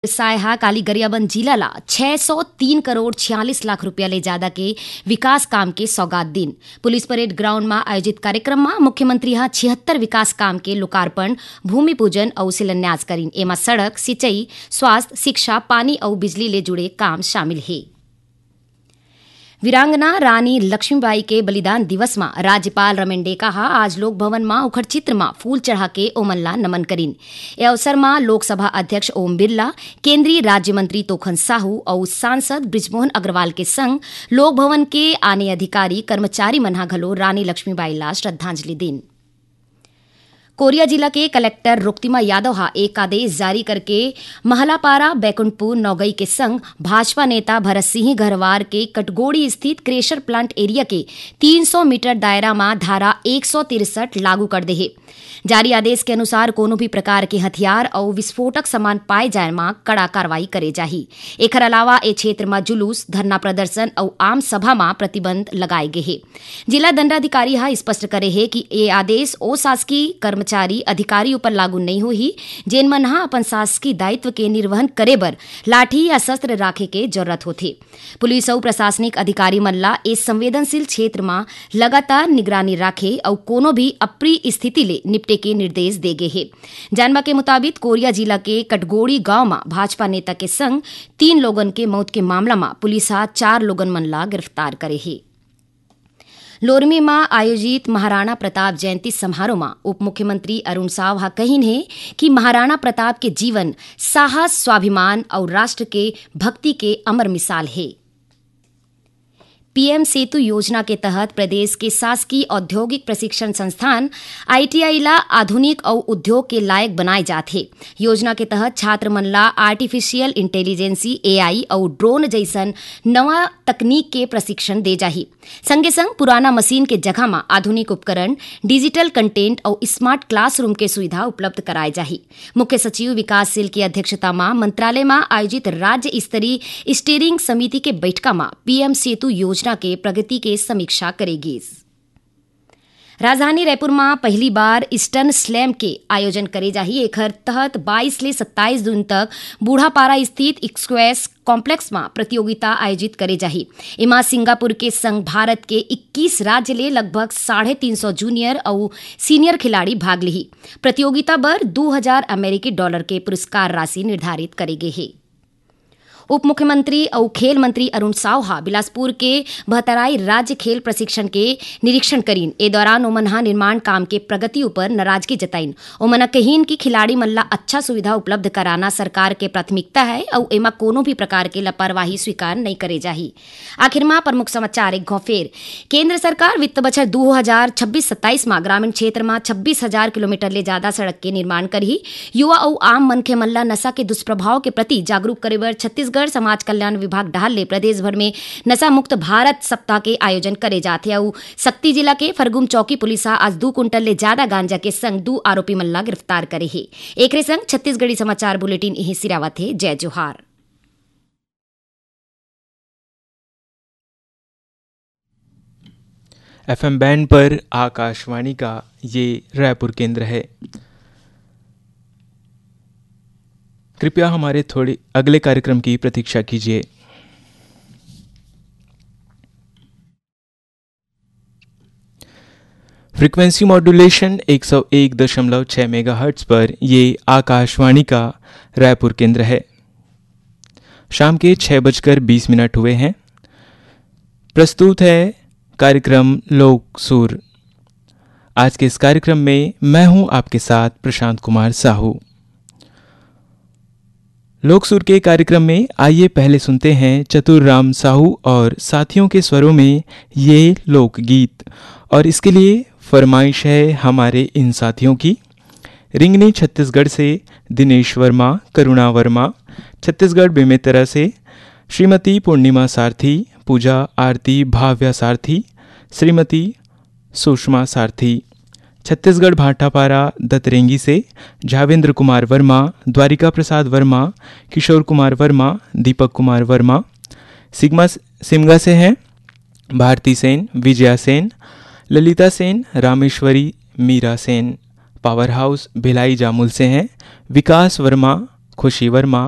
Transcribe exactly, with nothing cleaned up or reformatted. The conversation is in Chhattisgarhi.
साय ह काली गरियाबंद जिला ला छह सौ तीन करोड़ छियालीस लाख रुपया ले जादा के विकास काम के सौगात दिन। पुलिस परेड ग्राउंड म आयोजित कार्यक्रम म मुख्यमंत्री ह छिहत्तर विकास काम के लोकार्पण, भूमि पूजन अउ शिलान्यास करिन। एमा सड़क, सिंचई, स्वास्थ्य, शिक्षा, पानी अउ बिजली ले जुड़े काम शामिल हे। वीरांगना रानी लक्ष्मीबाई के बलिदान दिवस म राज्यपाल रमेन डेका ह आज लोक भवन म ओखर चित्र म फूल चढ़ा के ओमन ला नमन करिन। ए अवसर म लोकसभा अध्यक्ष ओम बिरला, केंद्रीय राज्य मंत्री तोखन साहू अउ सांसद बृजमोहन अग्रवाल के संग लोक भवन के आने अधिकारी, कर्मचारी मन ह घलो रानी लक्ष्मीबाई ला श्रद्धांजलि दीन। कोरिया जिला के कलेक्टर रुक्तिमा यादव ह एक आदेश जारी करके महलापारा, बैकुंठपुर, नौगई के संग भाजपा नेता भरत सिंह घरवार के कटगोड़ी स्थित क्रेशर प्लांट एरिया के तीन सौ मीटर दायरा म धारा एक सौ तिरसठ लागू कर दे हे। जारी आदेश के अनुसार कोनो भी प्रकार के हथियार अउ विस्फोटक सामान पाए जाए म कड़ा कार्रवाई करे जाही। एखर अलावा ए क्षेत्र म जुलूस, धरना प्रदर्शन अउ आम सभा म प्रतिबंध लगाए गे हे। जिला दंडाधिकारी ह स्पष्ट करे हे कि ए आदेश ओ शासकीय कर्मचारी, अधिकारी ऊपर लागू नइ होही, जेन मन ह अपन शासकीय दायित्व के निर्वहन करे बर लाठी या शस्त्र राखे के जरूरत होथे। पुलिस अउ प्रशासनिक अधिकारी मन ला ए संवेदनशील क्षेत्र म लगातार निगरानी राखे अउ कोनो भी अप्रिय स्थिति ले निपटे के निर्देश दे गे हे। जानबा के मुताबिक, कोरिया जिला के कटगोड़ी गांव म भाजपा नेता के संग तीन लोगन के मौत के मामला म पुलिस ह चार लोगन मन ला गिरफ्तार करे हे। लोरमी म आयोजित महाराणा प्रताप जयंती समारोह म उप मुख्यमंत्री अरुण साव ह कहिन हे कि महाराणा प्रताप के जीवन साहस, स्वाभिमान अउ राष्ट्र के भक्ति के अमर मिसाल हे। पीएम सेतु योजना के तहत प्रदेश के शासकीय औद्योगिक प्रशिक्षण संस्थान, आईटीआई, ला आधुनिक अउ उद्योग के लायक बनाए जात हे। योजना के तहत छात्र मन ला आर्टिफिशियल इंटेलिजेंसी, एआई, अउ ड्रोन जइसन नवा तकनीक के प्रशिक्षण दे जाही। संगे संग पुराना मशीन के जगह म आधुनिक उपकरण, डिजिटल कंटेंट अउ स्मार्ट क्लासरूम के सुविधा उपलब्ध कराए जाही। मुख्य सचिव विकासशील के अध्यक्षता म मंत्रालय म आयोजित राज्य स्तरीय स्टीयरिंग समिति के बैठका म पीएम सेतु योजना के प्रगति के समीक्षा करे गीस। राजधानी रायपुर म पहली बार स्टन स्लैम के आयोजन करे जाही। एखर तहत बाईस ले सत्ताईस जून तक बूढ़ापारा स्थित स्क्वैश कॉम्प्लेक्स म प्रतियोगिता आयोजित करे जाही। एमा सिंगापुर के संग भारत के इक्कीस राज्य ले लगभग साढ़े तीन सौ जूनियर अउ सीनियर खिलाड़ी भाग लिही। प्रतियोगिता बर दू हजार अमेरिकी डॉलर के पुरस्कार राशि निर्धारित करे गे हे। उप मुख्यमंत्री अउ खेल मंत्री अरुण साव ह बिलासपुर के भतराई राज्य खेल प्रशिक्षण के निरीक्षण करीन। ए दौरान ओमन ह निर्माण काम के प्रगति उपर नाराजगी जताइन। ओमन ह कहिन कि खिलाड़ी मन ला अच्छा सुविधा उपलब्ध कराना सरकार के प्राथमिकता है अउ एमा कोनो भी प्रकार के लापरवाही स्वीकार नइ करे जाही। आखिर म प्रमुख समाचार एक घौं फेर। केंद्र सरकार वित्त बछर दू हजार छब्बीस सत्ताईस म ग्रामीण क्षेत्र म छब्बीस हजार किलोमीटर ले जादा सड़क के निर्माण करही। युवा अउ आम मनखे मन ल नशा के दुष्प्रभाव के प्रति जागरूक करे बर छत्तीसगढ़ समाज कल्याण विभाग डहार ले प्रदेश भर में नशा मुक्त भारत सप्ताह के आयोजन करे जात हे। अउ सक्ती जिला के फरगुम चौकी पुलिस ह आज दू कुंटल ले जादा गांजा के संग दू आरोपी मन ल गिरफ्तार करे हे। एकरे संग छत्तीसगढ़ी समाचार बुलेटिन इही सिरावत हे। जय जोहार। एफएम बैंड पर आकाशवाणी का ये रायपुर केंद्र है। कृपया हमारे थोड़ी अगले कार्यक्रम की प्रतीक्षा कीजिए। फ्रीक्वेंसी मॉड्यूलेशन एक सौ एक दशमलव छह मेगाहर्ट्ज पर ये आकाशवाणी का रायपुर केंद्र है। शाम के छह बजकर बीस मिनट हुए हैं। प्रस्तुत है कार्यक्रम लोक सुर। आज के इस कार्यक्रम में मैं हूं आपके साथ प्रशांत कुमार साहू। लोक सुर के कार्यक्रम में आइए पहले सुनते हैं चतुर राम साहू और साथियों के स्वरों में ये लोकगीत। और इसके लिए फरमाइश है हमारे इन साथियों की। रिंगनी छत्तीसगढ़ से दिनेश वर्मा, करुणा वर्मा, छत्तीसगढ़ बेमेतरा से श्रीमती पूर्णिमा सारथी, पूजा आरती भाव्या सारथी, श्रीमती सुषमा सारथी, छत्तीसगढ़ भाटापारा दतरेंगी से झावेंद्र कुमार वर्मा, द्वारिका प्रसाद वर्मा, किशोर कुमार वर्मा, दीपक कुमार वर्मा, सिग्मा, सिमगा से हैं भारती सेन, विजया सेन, ललिता सेन, रामेश्वरी, मीरा सेन। पावर हाउस भिलाई जामुल से हैं विकास वर्मा, खुशी वर्मा,